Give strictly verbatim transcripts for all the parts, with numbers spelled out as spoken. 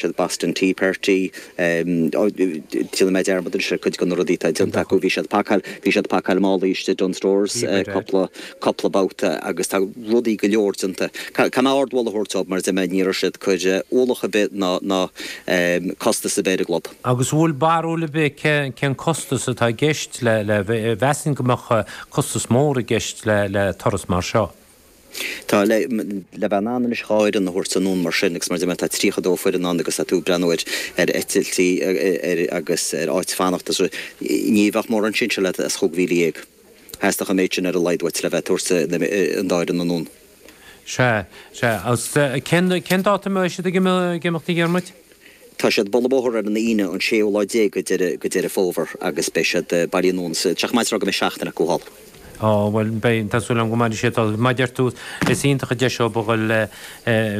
siad Boston Tea Party, déanfaidh mé dearmad anois ar cuid de na rudaí atá déanta acu, bhí siad pacáil, bhí siad pacáil málaí istigh i Dunnes Stores cúpla, cúpla babhta agus tá rudaí go leor déanta. Caithfidh mé ardmholadh a thabhairt dóibh mar a deir mé ní raibh siad ag cur ualach ar bith ná, ná costas ar bith ar an gclub. Agus an bhfuil barúil ar bith cén costas atá i gceist le, le, mheasfainn go mbeadh costas mór i gceist le, le turas mar seo. Tá, le bheith in ann anois dhá fhoireann a thabhairt anonn mar sin agus mar a deir mé tá tríocha dó foireann ann agus tá tú ag breathnú ar ar eitiltí ar agus ar áit fanachta so ní bheadh mórán sinsear leat as chúig mhíle dhéag. Theastódh an méid sin ar a laghad uait le bheith ag tabhairt an dá fhoireann anonn. Sea, sea. Agus cén cén dáta a mbeidh siad ag imeacht a Dhiarmuid? Tá siad ag bualadh bóthar ar an Aoine an séú lá déag de Deireadh Fómhair agus beidh siad bailithe anonn sa, tá sé chomh maith is a rá go mbeidh seachtain acu thall. Á, bhuel, beidh, tá súil agam go mairfidh siad thall. Mar a deir tú, is iontach an deis dóibh a dhul le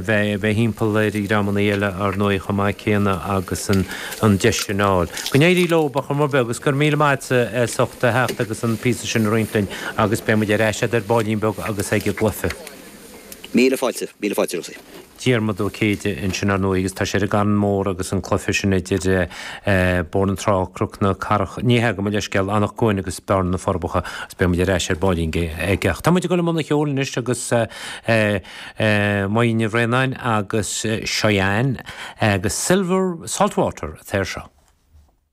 bheith, bheith thimpeall ar dhreamanna eile ar ndóigh chomh maith céanna agus an, an deis sin a fháil. Go n-éirí leo ar chuma ar bith agus go raibh míle maith agatsa as ucht a theacht agus an píosa sin a roinnt linn agus beidh muid ar ais agat ar baillín beag agus ag an gcluiche. Míle fáilte, míle fáilte Rosaí. Diarmaid Ó Céide ansin ar ndóigh agus tá sé ar an gCarn Mór agus an cluiche sin idir Bóthar na Trá, Cnoc na Cathrach, ní hea, gabh mo leithscéal, Anach Cuain agus Bearna na Forbacha agus beidh muid ar ais ar baillín aige. Ach tá muid ag dul i mbun an cheoil anois agus Máire Ní Bhraonáin agus Cheyenne agus Silver Saltwater atá air seo.